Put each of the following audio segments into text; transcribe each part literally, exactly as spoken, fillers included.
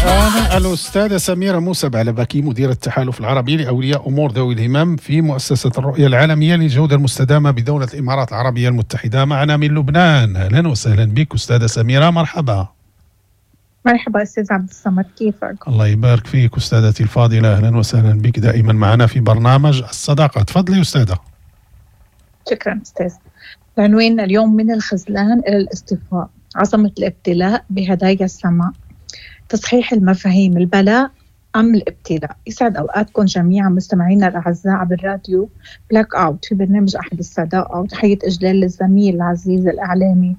الآن الأستاذة سميرة موسى بعلبكي، مديرة التحالف العربي لأولياء أمور ذوي الهمم في مؤسسة الرؤية العالمية للجودة المستدامة بدولة الإمارات العربية المتحدة، معنا من لبنان. أهلا وسهلا بك أستاذة سميرة، مرحبا. مرحبا أستاذ عبد الصمد، كيفك؟ الله يبارك فيك أستاذتي الفاضلة، أهلا وسهلا بك دائما معنا في برنامج الصداقة. تفضلي أستاذة. شكرا أستاذ. عنوان اليوم: من الخذلان إلى الاصطفاء، عظمة الابتلاء بهدايا السماء، تصحيح المفاهيم، البلاء أم الابتلاء. يسعد أوقاتكم جميعا مستمعينا الأعزاء عبر راديو بلاك أوت في برنامج أحد الصداقة، وتحية إجلال للزميل العزيز الإعلامي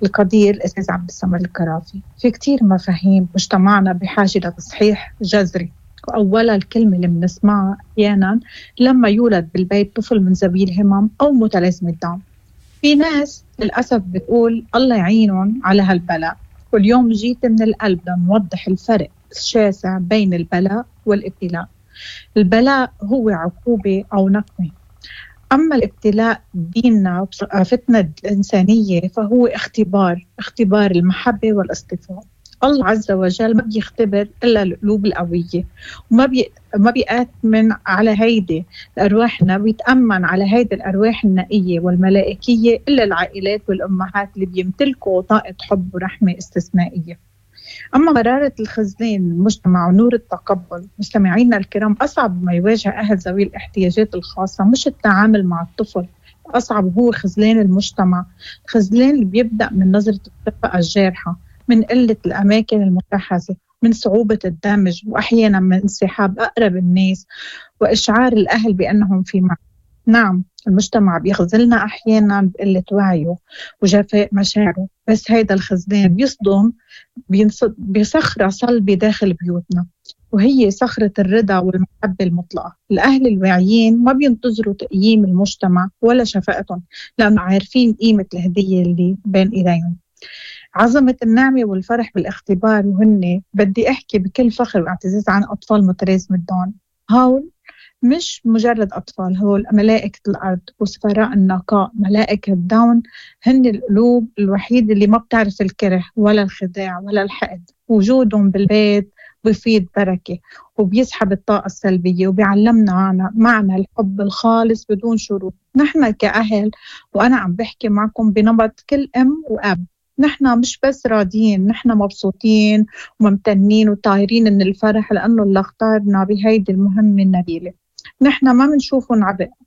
القدير الأستاذ عبد الصمد الكرافي. في كتير مفاهيم مجتمعنا بحاجة لتصحيح جذري، وأولها الكلمة اللي بنسمعها أحيانا لما يولد بالبيت طفل من ذوي الهمم أو متلازمة داون. في ناس للأسف بتقول الله يعينهم على هالبلاء، واليوم جيت من القلب لنوضح الفرق الشاسع بين البلاء والابتلاء. البلاء هو عقوبة أو نقمة، أما الابتلاء ديننا وثقافتنا الإنسانية فهو اختبار، اختبار المحبة والاصطفاء. الله عز وجل ما بيختبر إلا القلوب القوية، وما بي ما بيأتمن على هيدي الأرواحنا، بيتأمن على هيدي الأرواح النقية والملائكية إلا العائلات والأمهات اللي بيمتلكوا طاقة حب ورحمة استثنائية. أما مرارة الخذلان المجتمع ونور التقبل، مستمعينا الكرام، أصعب ما يواجه أهل ذوي الاحتياجات الخاصة مش التعامل مع الطفل، أصعب هو خذلان المجتمع. الخذلان اللي بيبدأ من نظرة الشفقة الجارحة، من قلة الأماكن المتحزة، من صعوبة الدمج، وأحيانا من انسحاب أقرب الناس وإشعار الأهل بأنهم في معزل. نعم، المجتمع بيخذلنا أحيانا بقلة وعيه وجفاء مشاعره، بس هيدا الخذلان بيصدم بصخرة صلبة داخل بيوتنا، وهي صخرة الرضا والمحبة المطلقة. الأهل الواعيين ما بينتظروا تقييم المجتمع ولا شفقتهم، لأنه عارفين قيمة الهدية اللي بين إيديهم. عظمة النعمة والفرح بالاختبار. وهن بدي أحكي بكل فخر واعتزاز عن أطفال متلازمة داون. هول مش مجرد أطفال، هول ملائكة الأرض وسفراء النقاء. ملائكة داون هن القلوب الوحيدة اللي ما بتعرف الكره ولا الخداع ولا الحقد. وجودهم بالبيت بفيض بركة وبيسحب الطاقة السلبية وبيعلمنا معنى, معنى الحب الخالص بدون شروط. نحن كأهل، وأنا عم بحكي معكم بنمط كل أم وأب، نحن مش بس راضيين، نحن مبسوطين وممتنين وطايرين من الفرح لأنه اللي اختارنا بهيدي المهمة النبيلة. نحن ما بنشوفهم عبء.